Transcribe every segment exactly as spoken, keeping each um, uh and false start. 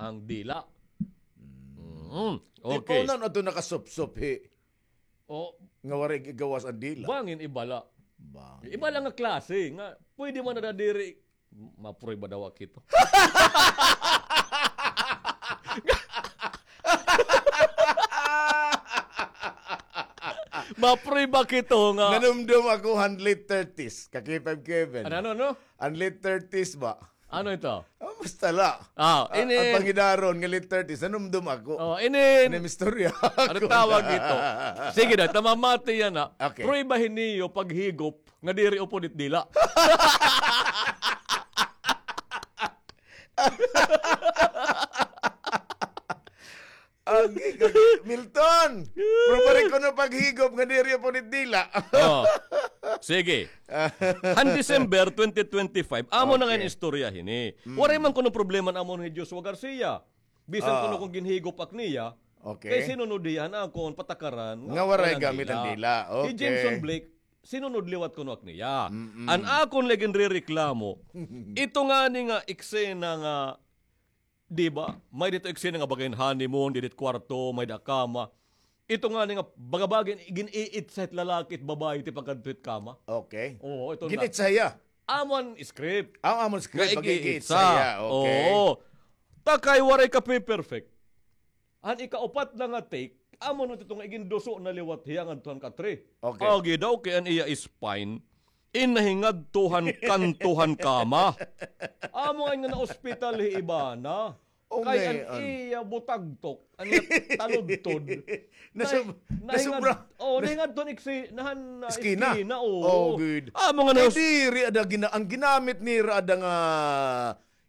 ang dila. Mm. Okay. Ikaw na ato nakasupsop, hi. O. Nga waray igawas ang dila. Bangin ibala. Bangin. Ibala nga klase, nga pwede man na diri, maprueba daw ak hito. Maprueba ak hito nga. Nanumdom ako han late thirties, ka K five Kevin. Ano, ano, ano? An late thirties ba? Ano ito? Ah, basta la. Ah, ini. An pangidaron nga late thirties, nanumdom ako. Oh, ini. Ini istorya. Ano tawag ito? Sige na, tamamati yana. Okay. Pruebahi niyo paghigop nga diri upod it dila. Agi, agi, Milton! Pruebahi kuno paghigop nga diri upod it dila. Oh. Sige. Han December twenty twenty-five, amo na nga istorya hini. Mm. Waray man kuno problema an amon hi Joshua Garcia. Bisan kuno kon ginhigop ak niya, okay, kay sinunod hiya an akon patakaran nga waray gamit an dila. Okay. Hi Jameson Blake, sinunod liwat kuno ak niya. Mm-mm. An akon la ginrereklamo, ito ngani nga eksena nga, di ba? May-ada ito eksena nga baga hin honeymoon, didi it kwarto, may-ada kama. Ito ngani nga baga-baga gin-iitsa hit lalaki it babaye ti pagkadto hit kama. Okay. Oo, ito na. Gin-itsa hiya? Amo an script. Ah, amo an script. Nga pag-iitsa hiya. Okay. Oo. Ta kay waray kape-perfect. An ikaupat na nga take, amo na ito nga iginduso na liwat hiya ngadto han katre. Okay. Agi daw kay an iya spine, in nahingadto han kanto han kama. Amo nga na-ospital hi Ivana. Kay an iya butagtok, an iya taludtod. Nasub-, nahingadto han iksi-, nahan, ah, eskina, oo. Oh, good. Amo nga diri ada gina-, an ginamit nira ada nga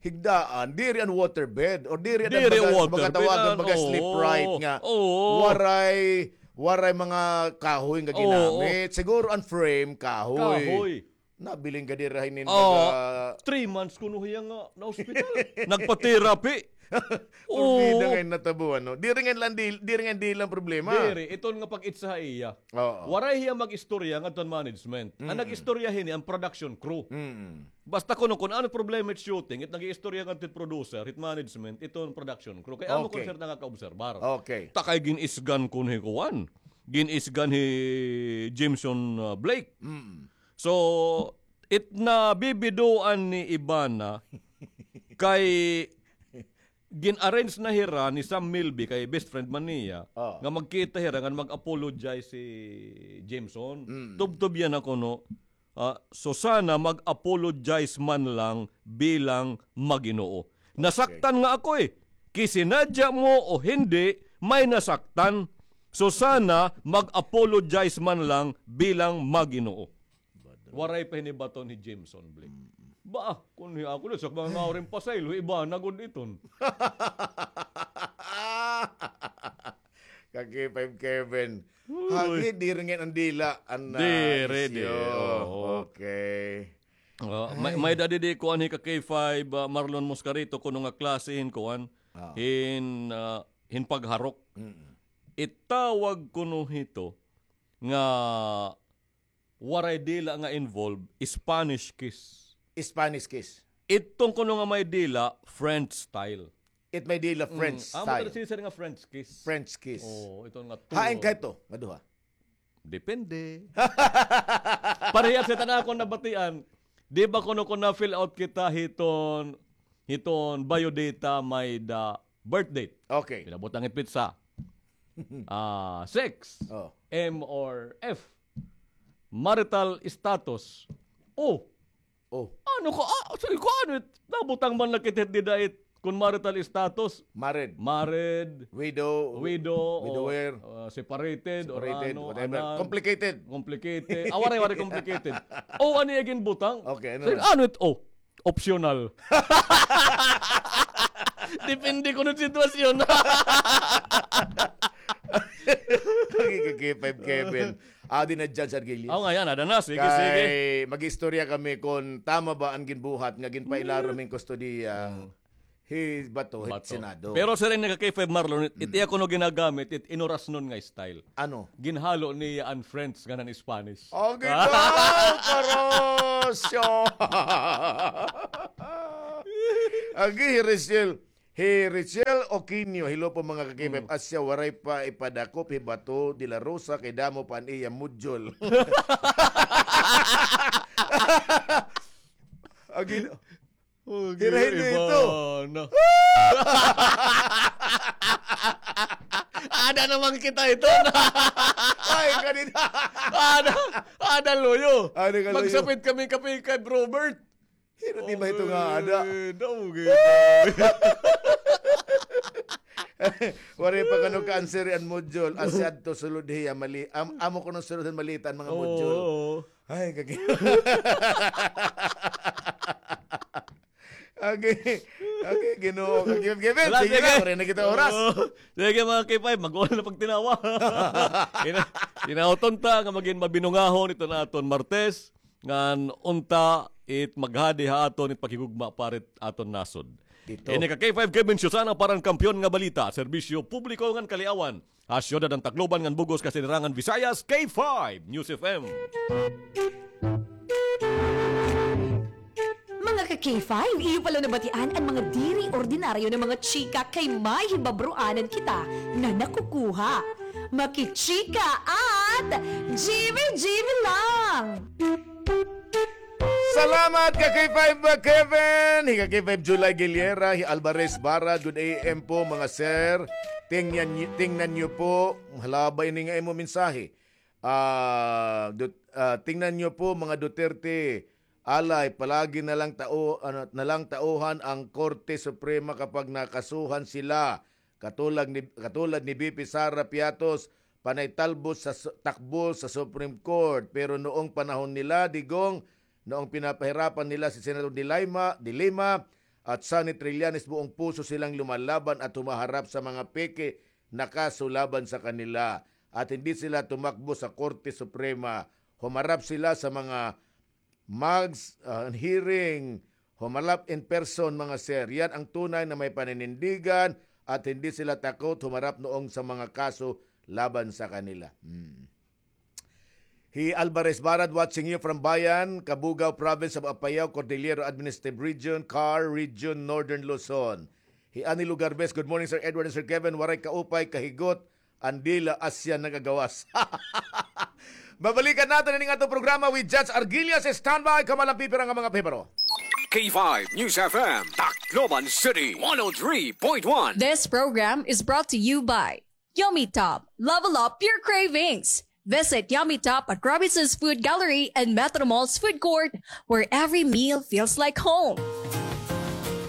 higdaan, diri an waterbed, or diri an baga, baga tawagan, baga sleep right nga. Oo. Waray, waray mga kahoy nga ginamit. Siguro an frame, kahoy. Kahoy. Nabilin ka diri hin baga three months kuno hiya nga na-ospital. Nagpa-therapy. Porbida ngay-an natabo, ano? Diri ngay-an la, diri ngay-an dila an problema. Diri, iton nga pag-itsa ha iya. Oo. Waray hiya mag-istorya ngadto han management. An nag-istorya hini an production crew. Mm. Basta kuno kon ano problema it shooting, it nag-iistorya ngadto hit producer, hit management, iton production crew. Kay amo kon sir nakakaobserbar. Okay. Ta kay gin-isgan kuno hi kuan. Gin-isgan hi Jameson, ah, Blake. Mm. So, it nabibidoan ni Ivana kay gin-arrange na hira ni Sam Milby kay best friend man niya nga magkita hira ngan mag-apologize si Jameson. Mm. Tubtob yana kuno, ah, Susana, mag-apologize man lang bilang maginoo. Nasaktan nga ako eh. Kisinadya mo o hindi, may nasaktan. Susana, mag-apologize man lang bilang maginoo. Waray pa hinibaton hi Jameson Blake. Mm. Ba, kun hi ako na, sa mga ngawrin pasaylo, iba na gud iton. Ka K five Kevin. Uy. Hagi, diri ngay-an an dila, an, ah, diri, isyu. Oo. Okay. Ah, may, may-ada didi kuan hi ka K five, ah, Marlon Moscarito, kuno nga klase hin kuan, hin, ah, hin pagharok. Mm. Itawag kuno hito nga waray dila nga involved, Spanish kiss. Spanish kiss. Iton kuno nga may dila, French style. It may dila French style. Amo ito sisir nga French kiss. French kiss. Oo, ito nga tulo. Hain ka ito, maduha? Depende. Parehas kita na akon nabatian. Di ba kuno kon na-fill out kita hiton, hiton biodata may-ada birth date. Okay. Pinabutang it petsa. Ah, sex. Oh. M or F. Marital status. O. Oh. Ano ka? Ah, so, ikaw ano it? Nabutang man na kita dida it. Kon marital status. Married. Married. Widow. Widow. Widower. O, ah, separated. Separated, or ano, whatever. Complicated. Complicated. Ah, waray, waray complicated. O, ano yung ginbutang? Okay, ano? So, ano it? O. Optional. Depende kuno sitwasyon. Kay ka K five Kevin. Adi na, Judge Argelius. Aw, nga yana, ada na. Sige, sige. Kay mag-istorya kami kon tama ba an ginbuhat nga ginpailarom hin kustodiya. Mm. Hi Bato, hi Senado. Pero siring ni ka K five Marlon, it, it iya kuno ginagamit, it inorasnon nga style. Ano? Ginhalo niya an French ngan an Spanish. Agi daw, karosyo! Agi, hi Rachel, Hi Richel Oquino, hello po mga ka-K five. Hmm. Asya, waray pa ipadakop hi Bato de la Rosa kay damo pa an iya module. Agi, oh, hirahin niyo ito. Ada naman kita ito. Ay, kanina. Ada, ada, luyo. Ada ka, luyo. Magsapit kami kape kay Robert. Hira di ba ito nga ada? Okay, okay. Waray pa kano ka-answer an module. Asya adto sulod hiya, mali. Am-, amo kuno sulod malita an mga module. Oo, oo. Ay, kagi-, okay. Okay, Ginoo. Kagi-, Kevin, sige na, waray na kita oras. Oo. Sige, mga K five, mag-ulan na pagtinawa. Ina-, inauton ta nga magin mabinungahon ito na aton Martes. Ngan unta it maghadi ha aton it paghigugma para it aton nasod. Dito. Ini ka K five Kevin Susana para han Kampiyon nga Balita, Serbisyo Publiko ngan Kaliawan, ha siyudad han Tacloban ngan bug-os kasinirangan Visayas, K five News F M. Mga ka-K five, iyo pala nabatian an mga diri ordinaryo na mga chika kay may hibabroanan kita na nakukuha. Makichika at G B G B lang! Salamat, ka-K five Kevin! Hi ka-K five July Giliera, hi Alvarez Bara, good A M po, mga sir. Tingnan, tingnan niyo po, hala ba ini nga imo mensahe? Ah, Dut-, ah, tingnan niyo po, mga Duterte, alay, palagi na lang tao-, ano, na lang tauhan ang Korte Suprema kapag nakasuhan sila. Katulad ni, katulad ni V P Sara Piatos, panay talbos sa su-, takbo sa Supreme Court. Pero noong panahon nila, Digong, noong pinapahirapan nila si Senator De Lima, De Lima at Sonny Trillanes, buong puso silang lumalaban at humaharap sa mga peke na kaso laban sa kanila. At hindi sila tumakbo sa Korte Suprema. Humarap sila sa mga mags-, ah, hearing, humarap in person, mga sir. Yan ang tunay na may paninindigan at hindi sila takot humarap noong sa mga kaso laban sa kanila. Hmm. Hi Alvarez Barad watching you from Bayan, Cabugao Province of Apayao, Cordillera Administrative Region, Car Region, Northern Luzon. Hi Annie Lugarbes, good morning, Sir Edward and Sir Kevin. Waray kaupay, kahigot, an dila asya nagagawas. Babalikan naton ining aton programa with Judge Arguillas. Standby, kamo la pipira nga mga pahibaro. K five News F M, Tacloban City, one oh three point one. This program is brought to you by Yummy Top. Level up your cravings. Visit Yummy Top at Robinson's Food Gallery and Metro Mall's Food Court, where every meal feels like home.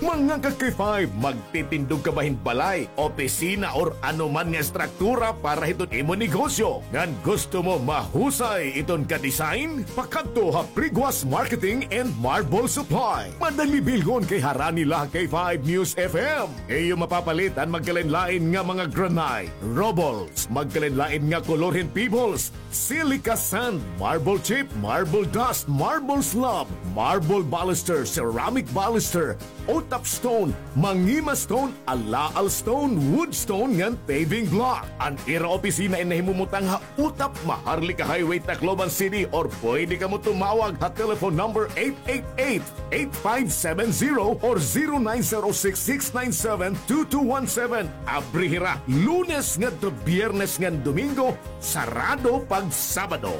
Mga ka-K five, magtitindog ka ba hin balay, opisina, or ano man nga estruktura para hiton imo negosyo? Ngan gusto mo mahusay iton ka-design? Pakadto ha Priguas Marketing and Marble Supply. Madali bilhon kay harani la ha K five News F M. Iyo mapapalit an magkalain-lain nga mga granite, rubbles, magkalain-lain nga kolor hin pebbles, silica sand, marble chip, marble dust, marble slab, marble baluster, ceramic baluster, O-top stone, mangima stone, alaal stone, wood stone, ngan paving block. An ira opisina in nahimumutang ha Utap, Maharlika Highway, Tacloban City, or pwede kamo tumawag ha telephone number eight eight eight, eight five seven zero or zero nine zero six, six nine seven, two two one seven. Abri hira Lunes ngadto Biyernes ngan Domingo, sarado pag Sabado.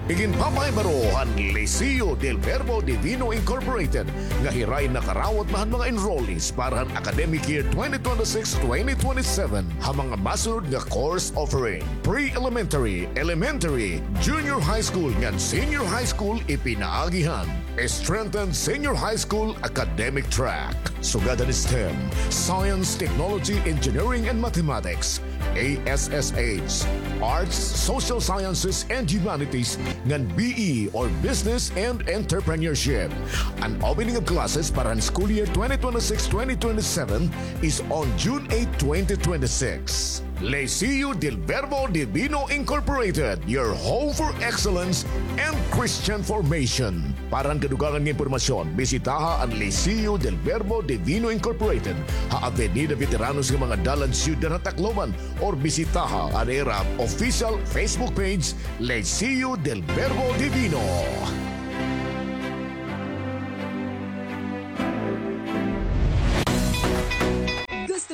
Iginpapahibaro han Liceo del Verbo Divino Incorporated nga hira in nakarawat na han mga enrollees para han academic year twenty twenty-six, twenty twenty-seven ha mga masunod nga course offering: pre-elementary, elementary, junior high school ngan senior high school ipinaagi han strengthened senior high school academic track. Sugad han STEM, Science, Technology, Engineering, and Mathematics, A S S H, Arts, Social Sciences, and Humanities, ngan B E or Business and Entrepreneurship. An opening of classes para han school year twenty twenty-six, twenty twenty-seven is on June eight, twenty twenty-six. Liceo del Verbo Divino Incorporated, your home for excellence and Christian formation. Para han kadugangan nga impormasyon, bisitaha an Liceo del Verbo Divino Incorporated ha Avenida Veteranos nga mga dalan, Siyudad ha Tacloban, or bisitaha an ira official Facebook page, Liceo del Verbo Divino.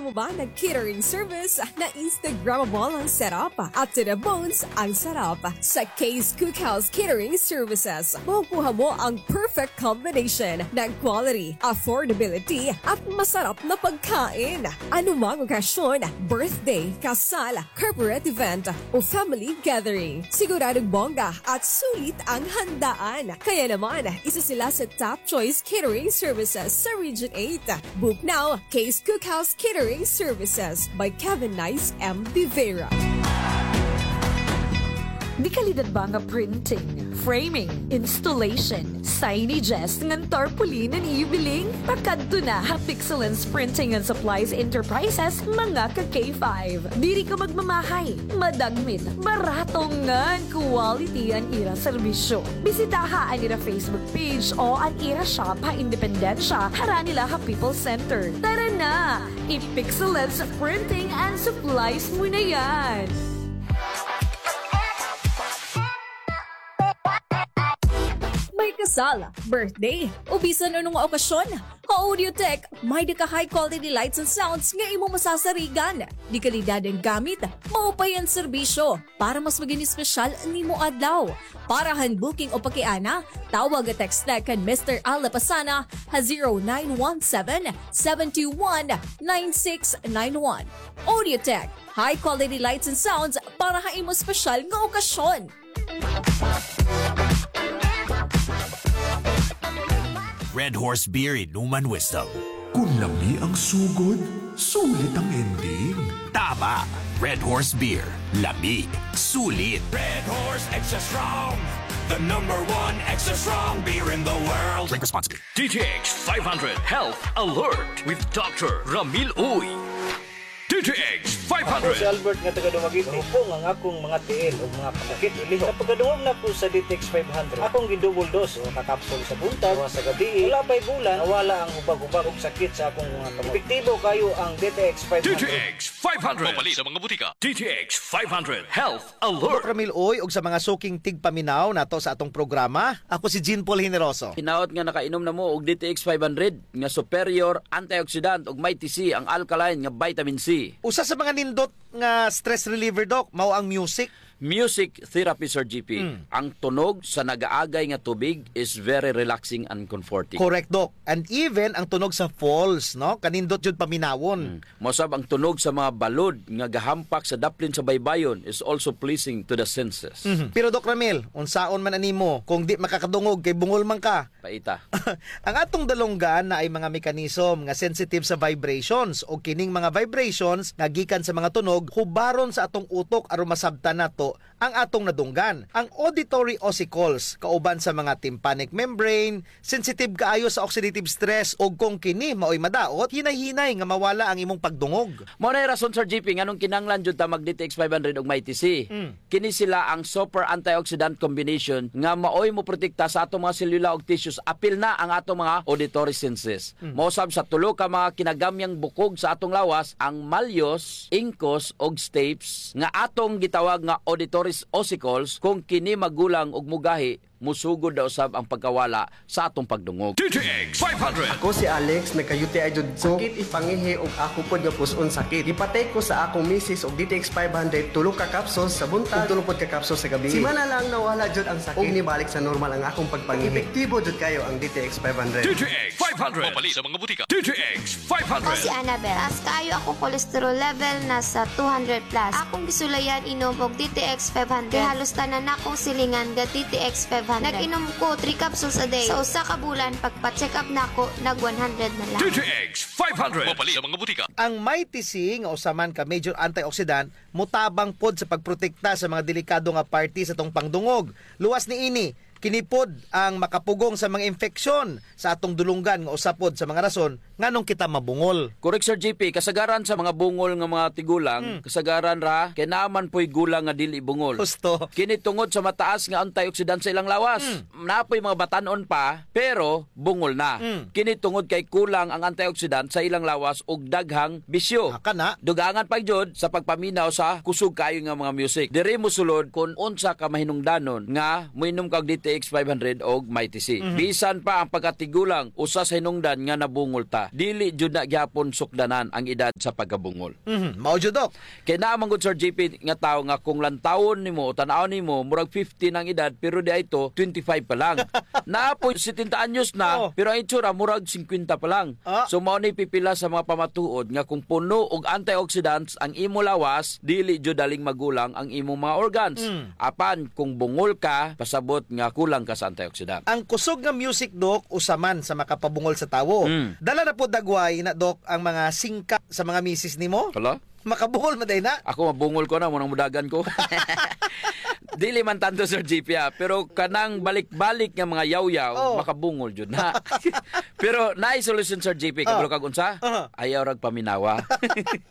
Mo ba nag-catering service na Instagrammable ang setup at to the bones ang sarap? Sa Kay's Cookhouse Catering Services, makukuha mo ang perfect combination ng quality, affordability, at masarap na pagkain. Anumang okasyon, birthday, kasal, corporate event, o family gathering, siguradong bongga at sulit ang handaan. Kaya naman, isa sila sa top choice catering services sa Region eight. Book now, Kay's Cookhouse Catering Services by Kevin Nice M. De Vera. Dekalidad ba nga printing, framing, installation, signages, ngan tarpaulin an ibiling? Pakadto na ha Pixelance Printing and Supplies Enterprises, mga ka K five. Diri ka magmamahay, madagmit, barato ngan quality an ira serbisyo. Bisitaha an ira Facebook page o an ira shop ha Independencia, harani la ha People's Center. Tara na! I-Pixelance Printing and Supplies mo na yan! May kasal, birthday, o bisan ano nga okasyon? Ha Audiotech, may-ada ka high quality lights and sounds nga imo masasarigan. Dekalidad an gamit, maupay an serbisyo. Para mas maging espesyal an imo adlaw. Para han booking o pakiana, tawag o text na kan Mister Al Lapasana ha zero nine one seven, seven two one, nine six nine one. Audiotech, high quality lights and sounds para ha imo espesyal nga okasyon. Red Horse Beer, inuman wisdom. Kun lami ang sugod, sulit ang ending. Tama! Red Horse Beer. Lami. Sulit. Red Horse Extra Strong, the number one extra strong beer in the world. Drink responsibly. D T X five hundred Health Alert with Doctor Ramil Uy. D T X five hundred. Ako si Albert nga taga Dumaguete. Hupong ang akong mga tiil ug mga kasakit ilihok. Sa pagkadungog nako sa D T X five hundred, akong gi-double dose, usa ka kapsul sa buntag, usa sa gabii. Wala pa'y bulan, nawala ang hubag-hubag ug sakit sa akong mga kamot. Epektibo kaayo ang D T X five hundred. D T X five hundred. Mapalit sa mga butika. D T X five hundred Health Alert. Doc Ramil Uy, ug sa mga suking tigpaminaw nato sa atong programa, ako si Jean Paul Generoso. Hinaot nga nakainom na mo og D T X five hundred nga superior antioxidant ug mighty C ang alkaline nga vitamin C. Usa sa mga nindot nga stress reliever, Doc, mao ang music. Music therapy, Sir G P. Mm. Ang tunog sa nagaagay nga tubig is very relaxing and comforting. Correct, Doc. And even ang tunog sa falls, no? Kanindot jud paminawon. Mm. Mao sab ang tunog sa mga balod nga gahampak sa daplin sa baybayon is also pleasing to the senses. Mhm. Pero, Doc Ramil, unsaon man animo kung di makakadungog kay bungol man ka? Paita. Ang atong dalunggan naay mga mechanism nga sensitive sa vibrations, ug kining mga vibrations nga gikan sa mga tunog hubaron sa atong utok aron masabtan nato ang atong nadunggan. Ang auditory ossicles, kauban sa mga tympanic membrane, sensitive kaayo sa oxidative stress, ug kung kini maoy madaot, hinay-hinay nga mawala ang imong pagdungog. Mao nay rason, Sir G P, nganong kinahanglan jud ta mag D T X five hundred ug Mighty C. Mm. Kini sila ang super antioxidant combination nga maoy moprotekta sa atong mga selula ug tissues, apil na ang atong mga auditory senses. Mm. Mao sab sa tulo ka mga kinagamyang bukog sa atong lawas, ang malleus, incus, ug stapes, nga atong gitawag nga auditory ossicles. Kung kini magulang ug mogahi, mosugod na usab ang pagkawala sa atong pagdungog. D T X five hundred. Ako si Alex, nagka-U T I jud ko. Sakit it pangihi ug ako pod nga pus-on sakit. Gipatay ko sa akong misis og D T X five hundred, tulo ka capsules sa buntag ug tulo pod ka capsules sa gabii. Simana lang nawala jud ang sakit ug nibalik sa normal ang akong pagpangihi. Epektibo jud kaayo ang D T X five hundred. D T X five hundred. Mapalit sa mga butika. D T X five hundred. Ako si Annabel. Taas kaayo akong cholesterol level, nasa two hundred plus. Akong gisulayan inom og D T X five hundred. Kay halos tanan nakong silingan ga D T X five hundred. Nag-inom ko three capsules a day. Sa usa ka bulan, pagpa-check up nako, nag one hundred na lang. D T X five hundred. Mapalit sa mga butika. Ang Mighty C nga usa man ka major antioxidant, motabang pod sa pagprotekta sa mga delikado nga parte sa atong pangdungog. Luwas niini, kini pod ang makapugong sa mga infeksyon sa atong dulunggan nga usa pod sa mga rason nganong kita mabungol. Correct, Sir G P. Kasagaran sa mga bungol nga mga tigulang, hmm, kasagaran ra kay naa man poy gulang nga dili bungol. Husto. Kini tungod sa mataas nga antioxidant sa ilang lawas. Hmm. Naa poy mga batan-on pa, pero bungol na. Hmm. Kini tungod kay kulang ang antioxidant sa ilang lawas ug daghang bisyo. Ah, kana. Dugangan pa jud sa pagpaminaw sa kusog kaayo nga mga music. Diri mosulod kon unsa ka mahinungdanon nga moinom ka og D T X five hundred og Mighty C. Mhm. Bisan pa ang pagkatigulang, usa sa hinungdan nga nabungol ta. Dili jud na gihapon sukdanan ang edad sa pagkabungol. Mhm. Mao jud, Doc. Kay naa man gud, Sir J P, nga tawo nga kung lantawon nimo o tan-awon nimo, murag fifty na ang edad, pero di ay to, twenty-five pa lang. Naa po, setenta anyos na, oh, pero ang itsura, murag singkwenta pa lang. Ah. So, mao ni pipila sa mga pamatuod nga kung puno og antioxidants ang imo lawas, dili jud daling magulang ang imong mga organs. Mm. Apan kung bungol ka, pasabot nga kulang ka sa antioxidant. Ang kusog nga music, Doc, usa man sa makapabungol sa tawo. Mm. Dala na po dagway na, Doc, ang mga singka sa mga misis nimo? Hala? Makabungol man day na? Ako mabungol ko na, munang mudagan ko. Dili man tanto, Sir J P, ah. Pero kanang balik-balik nga mga yawyaw, oh, makabungol jud na. Pero naay solusyon, Sir J P, kabalo kag unsa? Aha. Ayaw rag paminawa.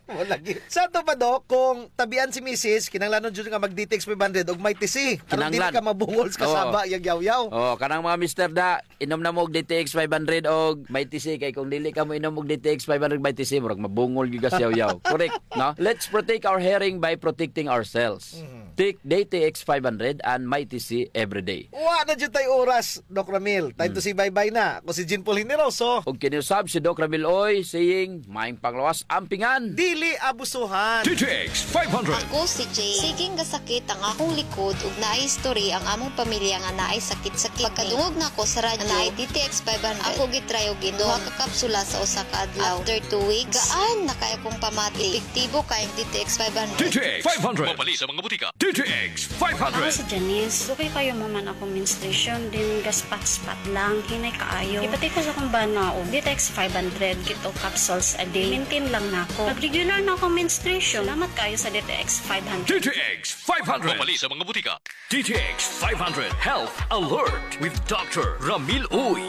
Mo lagi. Sa ato pa, Doc, kung tabian si misis, kinahanglanon jud nga mag D T X five hundred og Mighty C. Aron dili ka mabungol sa kasaba, yag yawyaw. Oh, kanang mga mister da, inom na mo og D T X five hundred og Mighty C, kay kung dili ka mo inom og D T X five hundred Mighty C, murag mabungol gyud ka sa yawyaw. Correct, no? Let's protect our hearing by protecting ourselves. Mhm. Take D T X five hundred and Mighty C every day. Wa na jud tay oras, Doc Ramil. Time to say bye-bye na. Ako si Jean Paul Generoso. Ug kini usab si Doc Ramil Uy, saying, maayong panglawas, ampingan. Dili abusuhan. D T X five hundred. Ako si Jane. Siging gasakit ang akong likod ug naay history ang among pamilya nga naay sakit-sakit. Pagkadungog nako sa radyo, naay D T X five hundred. Ako gitry og inom. Duha ka kapsula sa usa ka adlaw. After two weeks, gaan na kay akong pamati. Epektibo kay ang D T X five hundred. D T X five hundred. Mapalit sa mga butika. D T X five hundred. Ako si Janice. Dugay kaayo mahuman akong menstruation, then gaspat-spat lang, hinay kaayo. Ipati ko sa akong bana og D T X five hundred, two capsules a day. Maintain lang nako. Nag-regular na akong menstruation. Salamat kaayo sa D T X five hundred. D T X five hundred. Mapalit sa mga butika. D T X five hundred Health Alert with Doctor Ramil Uy.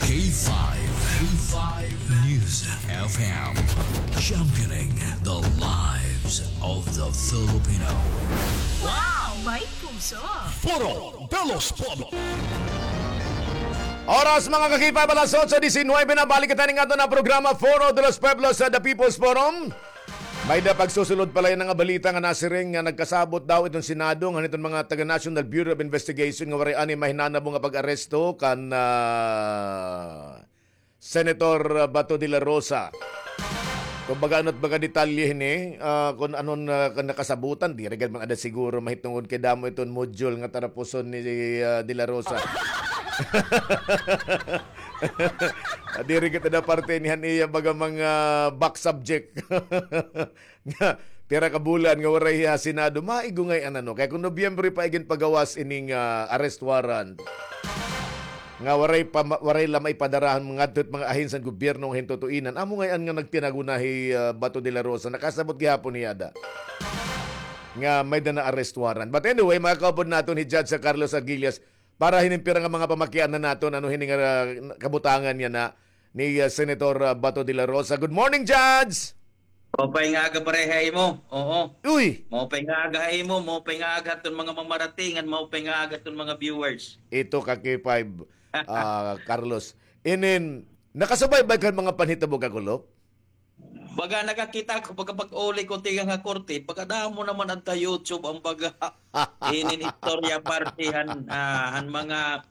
K five, K five News F M, championing the lives of the Filipino. Wow! May puso! Foro de los Pueblos. Oras, mga ka-K five, alas otso diecinuebe na. Balik kita ning aton nga programa, Foro de los Pueblos, sa The People's Forum. May-ada pagsusulod pa la yana nga balita nga nasiring nga nagkasabot daw iton Senado ngan iton mga taga National Bureau of Investigation nga waray anay mahinanabo nga pag-aresto kan, ah, Senator Bato de la Rosa. Kumbaga, ano it baga detalye hini, ah, kun anon, ah, kan nakasabutan, diri gad man ada siguro mahitungod kay damo iton module nga tarapuson ni, ah, de la Rosa. Ah, diri gad ada parte ini han iya baga mga back subject. Nga, pira ka bulan nga waray hiya ha Senado, maigungay an ano. Kay kon Nobyembre pa iginpagawas ining, ah, arrest warrant. Nga waray pa, waray la maipadara han mga, ngadto hit mga ahensya han gobyerno nga hin tutuinan. Amo ngay-an nga nagtinago na hi, ah, Bato de la Rosa. Nakasabot gihapon hiya ada nga may-ada na arrest warrant. But anyway, makakaupod naton hi Judge Carlos Aguillas para hinin pira nga mga pamakiana naton, ano hini nga, ah, kabutangan yana ni, ah, Senator, ah, Bato de la Rosa. Good morning, Judge! Maupay nga aga, pare, ha imo. Oo. Uy! Maupay nga aga ha imo, maupay nga aga ha aton mga mamarating, ngan maupay nga aga ha aton mga viewers. Ito ka K five, ah, Carlos. Inin, nakasubaybay ka han mga panhitabo, Kakulop? Baga nakakita ko, baga pag-uli ko tikang ha korte, baga damo naman adto ha YouTube an baga inin istorya parte han, ah, han mga